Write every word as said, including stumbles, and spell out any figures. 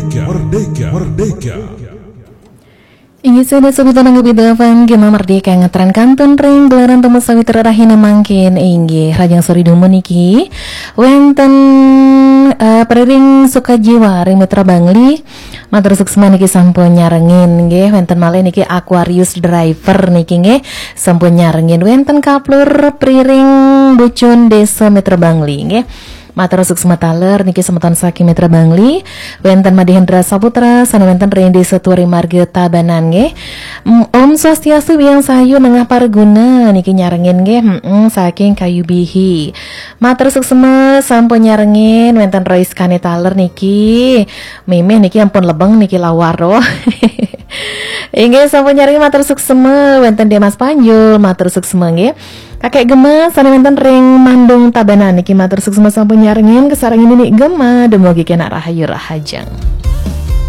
Merdeka, Merdeka, Merdeka. Inggih, sada sawitara nggih F M Gema Merdeka ngaturaken kantun ring gelaran temu sawitra rahina mangkin inggih Rajang Sori Dumun niki wenten eh, Periring Sukajiwa ring Mitra Bangli. Matur suksma niki sampun nyarengin nggih, wenten malih niki Aquarius Driver niki nggih sampun nyarengin, wenten Kaplur Periring Bucun Desa Mitra Bangli nggih. Matur suksma taler niki semeton saking Mitra Bangli. Wenten Madhi Hendra Saputra sane wenten ring Desa Turi Marga Tabanan nggih. Mm, Om Swastiastu Biang Sayu Nengah Parguna niki nyarengin nggih. Mm, saking Kayu Bihi. Matur suksma sampun nyarengin, wenten Rois Kane taler niki. Mimih niki ampun lebeng niki lawar roh. Inggih sampun nyarengin, matur suksma, wenten Demas Panjul, matur suksma nggih. Kakek Gema sane wenten ring Mandung Tabanan niki matur suksma sampun nyarengin, kesarengin niki Gema, dumugi kenak rahayu rahajeng.